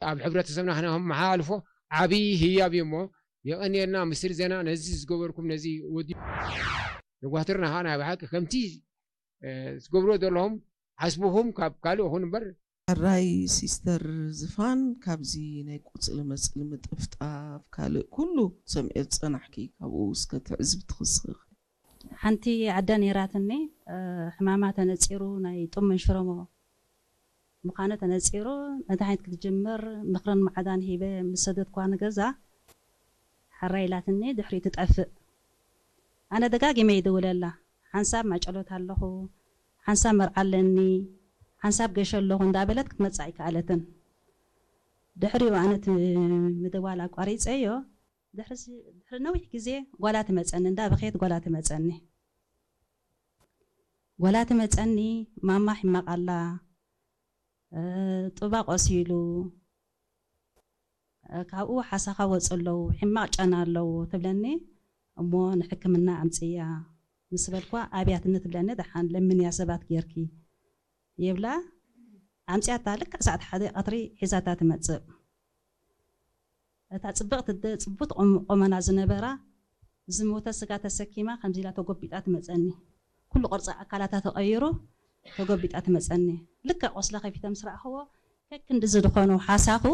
ኣብ ሕብረተሰብና ክነመሓላልፎ ዓብዪ ህያብ እዩ እሞ፣ የቐንየልና ምስሪ ዜና ነዚ ዝገበርኩም፣ ነዚ ወዲ ነጓትርና ኸዓ ናይ ብሓቂ ከምቲ እ፣ ትገብርዎ ዘለኹም ሓስብኹም ካብ ካልእ ይኹን እምበር። ሕራይ ሲስተር ዝፋን፣ ካብዚ ናይ ቁጽሊ መጽሊ ምጥፍጣፍ ካልእ ኩሉ ሰሚዐ ዝጸናሕኪ፣ ካብኡ እስከ ትዕዝብቲ ክስኺ። ሓንቲ ዓዳ ነይራትኒ፣ እ፣ ሕማማ ተነጺሩ ናይ ጡም መንሽሮሞ ምዃኑ ተነጺሩ፣ መድሃኒት ክትጅምር ምኽርን መዓዳን ሂበ ምስ ሰደድኳ ንገዛ፣ ሕራይ ኢላትኒ ድሕሪኡ ትጠፍእ። ኣነ ደጋጊመ ይድውለላ፣ ሓንሳብ ማጨሎት ኣለኹ፣ ሓንሳብ መርዓ ኣለኒ፣ ሓንሳብ ገሾ ኣለኹ እንዳበለት ክትመጽእ ኣይከኣለትን። ድሕሪኡ ኣነ እቲ ምድዋል ኣቋሪጸዮ። ድሕሪ ሲ- ድሕሪ ነዊሕ ግዜ ጓላ ትመጸኒ፣ እንዳበኸየት ጓላ ትመጸኒ። ጓላ ትመጸኒ፣ ማማ ሕማቕ ኣላ፣ እ፣ ጡባ ቆሲሉ፣ እ፣ ካብኡ ሓሳኻ ወጹ ኣለዉ፣ ሕማቕ ጨና ኣለዉ ትብለኒ። እሞ ንሕክምና ኣምጽእያ ምስ በልኳ ኣብያትኒ ትብለኒ። ደሓን ለምንያ ሰባት ጌርኪ ይብላ። ኣምጽያታ ልክዕ ሰዓት ሓደ ቀትሪ ሒዛታ ትመጽእ። እታ ጽብቕቲ ኣደ ጽቡት ቁም- ቁመና ዝነበራ ዝሞተ ስጋ ተሰኪማ ከምዚ ኢላ ተጎቢጣ ትመጸኒ። ኩሉ ቅርጺ ኣካላታ ተቐይሩ ተጎቢጣ ትመጸኒ። ልክዕ ቆስላ ከፊተ ምስ ረኣኽዎ ከክንዲ ዝድኾኑ ሓሳኹ